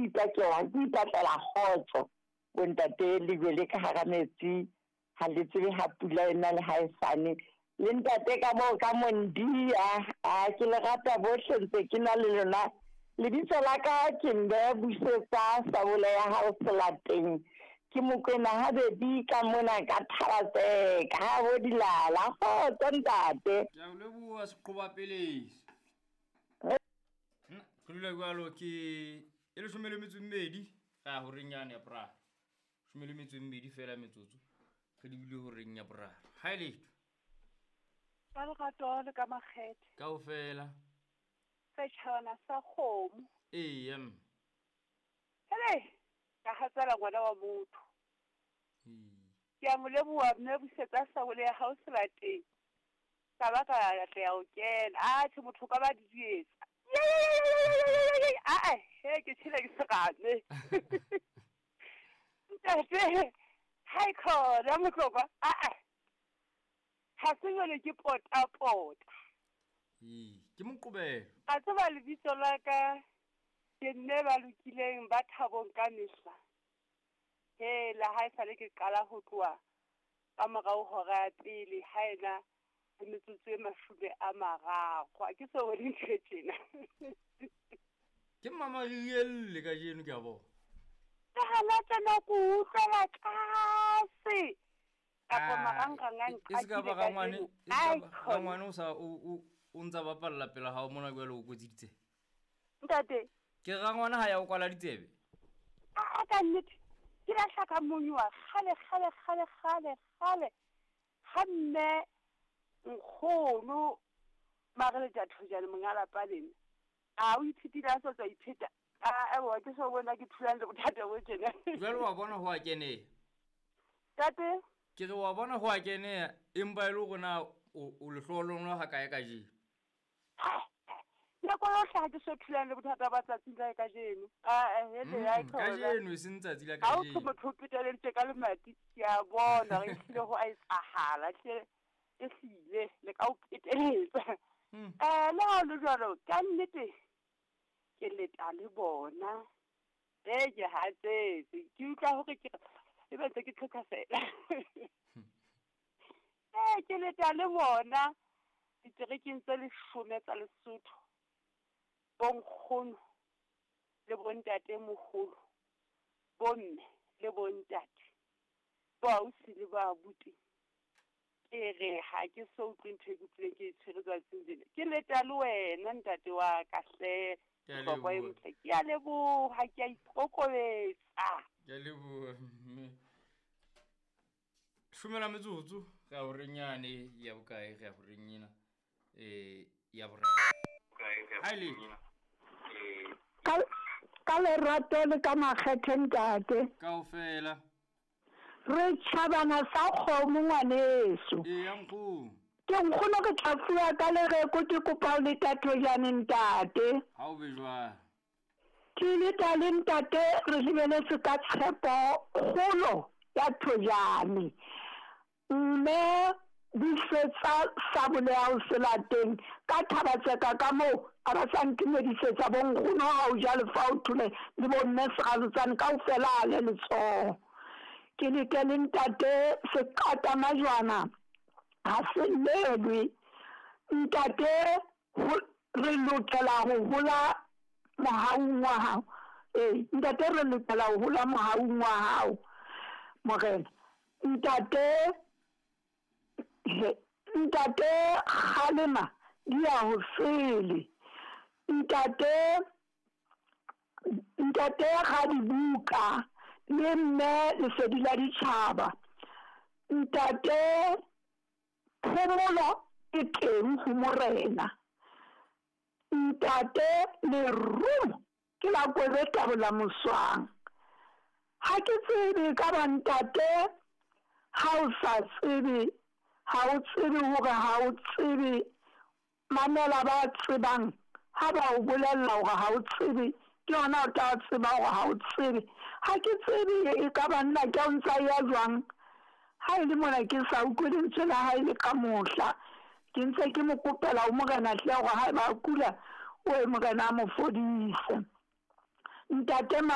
ipakela ke ipatlela kgotso. Bontate lejwe le ka hara metsi ha le tsebe ha pula ena le ha e sane. Le ntate ka moo ka Mondia, a ke le rata bohle ntse ke na le lona. Lebitso la ka ke Mme Busetsa Sabole ya hao Selateng. Ke Mokwena habedi ka mona ka Thalatseka ha bo dilala. Kgotso ntate. Ke a o leboha seqoba pelesi. Re dula jwalo ke e leshome le metso e mmedi ga ya horeng yane ya boraro. Shome le metso e mmedi fela metsotso re lebile horeng ya boraro. Ha e letho. Ka lerato le ka makgethe. Kaofela. Setjhabana sa kgomo. Eya mme. Hele, ka hatsela ngwana wa motho. Ee. Ke a mo leboha mme busetsa sabole ya hao selateng. Ka ba ka atleha ho kena. Atjhe motho o ka ba didietsa. Ae, he ke tjhele ke serame. Ntate, ha e khona motlokwa. Ae. Ha se jwale ke pota pota. Ee, ke moqobelo. A tseba lebitso la ka ke mme ba lokileng ba thabong ka mehla. Hela ha esale ke qala ho tloha ka morao hora ya pele ha ena le metsotso e 30. Ha ke so bone ntho e tjena. Ke mmamarielle kajeno ke a bona. Ka hana tsena ko utlwela tlase. Kapa marangrang a E se ka ba nqakile rangwane, kajeno. e se ka Ai ba khona. rangwane o sa o o ntsa bapalla pela hao mona jwale o kwetsiditse. Ntate. Ke rangwane ha ya o kwala ditsebe. A ka nnete. Ke lahla ka monyowa kgale kgale kgale kgale kgale. Ha mme nkgono Mareleta Thojane monga lapa lena. A o ithutile a sa tswa ipheta. A ewa ke so bona ke thulana le bothata bo tjena. Jwale wa bona ho a keneha. Tate. Ke re wa bona ho a keneha empa e le hore na o lehlohonolo ha kae kajeno. Nako yohle ha ke so thulana le bothata ba tsatsing la kajeno. A hele ya khona. Kajeno e seng tsatsi la Ha o kajeno. motho o peteleditse ka lemati, ke a bona re hlile ho a etsahala hle e hlile le ka o peteletsa. Le ha ho le jwalo ka nnete ke leta le bona. E ke hatsetse ke utlwa hore ke e be ntse ke tlhotlhosela. Ke leta le bona diterekeng tse 10 tsa Lesotho. Bonkgono le bontate moholo, bomme le bontate, boausi le boabuti. Ke re ha ke so utlwe ntho e ke utlwileng ke e tshwere tsatsing lena. Ke leta le wena ntate wa ka hle. Ke a Bohlokwa e leboha. motle. Ke a leboha, ke a ikokobetsa. Ke a leboha mme. Shumela metsotso re a horeng yane ya bokae re a horeng ena ya boraro. Ha e letho. Ka lerato le ka makgethe ntate. Kaofela. Re tjhabana sa kgomo ngwaneso. Eya nkgono. Ke nkgono ke tla fuwa ka lereko ke kopa ho leta Thojane ntate. Ha o be jwang? Ke leta le ntate re lebeletse ka tshepo kgolo ya Thojane. Mme busetsa sabole ya ho selateng ka Thabatseka ka moo a ba sa ntumedisetsa bo nkgono ha o ja lefa o thole le bo mme Seralotsane kaofela a le letsoho. Ke leke le ntate seqata majwana ha se llelwe. Ntate re lokela ho hola mohaung wa hao. Ntate re lokela ho hola mohaung wa hao. Morena. Ntate ntate kgalema di ya ho sele. Ntate ntate ga dibuka le mme lesedi la ditjhaba. Ntate phomolo e teng ho morena. Ntate lerumo ke la kwebeta bola moswang. Ha ke tsebe ka ba ntate ha o sa tsebe, ha o tsebe hore ha o tsebe, mamela ba tsebang ha ba o bolella hore ha o tsebe, ke yona o tla tseba hore ha o tsebe. Ha ke tsebe e ka ba nna ke o ntsa ya jwang. Ha e le mona ke sa utlwe lentswe la hae le ka mohla. Ke ntse ke mo kopela ho morena hle hore ha eba a kula, o e morena a mo fodise. Ntate